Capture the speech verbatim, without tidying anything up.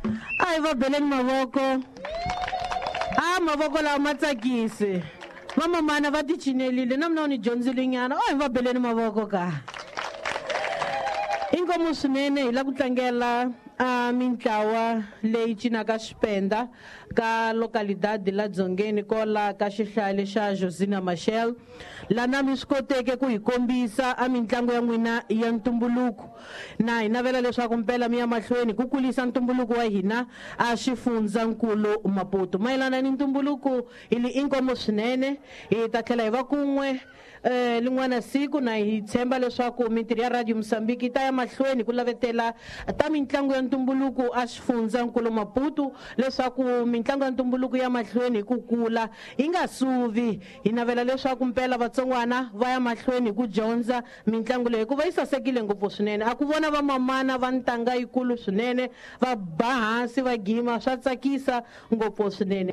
A hi va beleni mavoko. A mavoko lawa ma tsakisi. Vamamana va ti cinelile na mina u ni dyondzile nyana. A hi va beleni mavoko ka. Inkomu swinene hi la ku tlangela a mintlawa leyi cinaka xipenda ka localidade la Dzongeni kola ka xihlale xa Josina Machel, lana mi swi koteke ku hi kombisa a mitlangu ya n'wina ya ntumbuluko. Na hi navela leswaku mpela mi ya mahlweni ku kulisa ntumbuluko wa hina a xifundzankulu Maputo. Mayelana ni ntumbuluko hi li inkomu swinene, hi ta tlhela hi va kun'we eh lin'wana siku, na hi tshemba leswaku mintirho ya Radio Mozambique yi ta ya mahlweni ku lavetela ta mitlangu ya ntumbuluko a xifundzankulu Maputo, leswaku mitlangu ya ntumbuluko ya mahlweni hi ku kula yi nga suvi. Hi navela leswaku mpela vatsongwana va ya mahlweni hi ku dyondza mitlangu leyi hikuva yi sasekile ngopfu swinene. A ku vona vamamana va ntanga yikulu swinene va ba hansi va gima, swa tsakisa ngopfu swinene.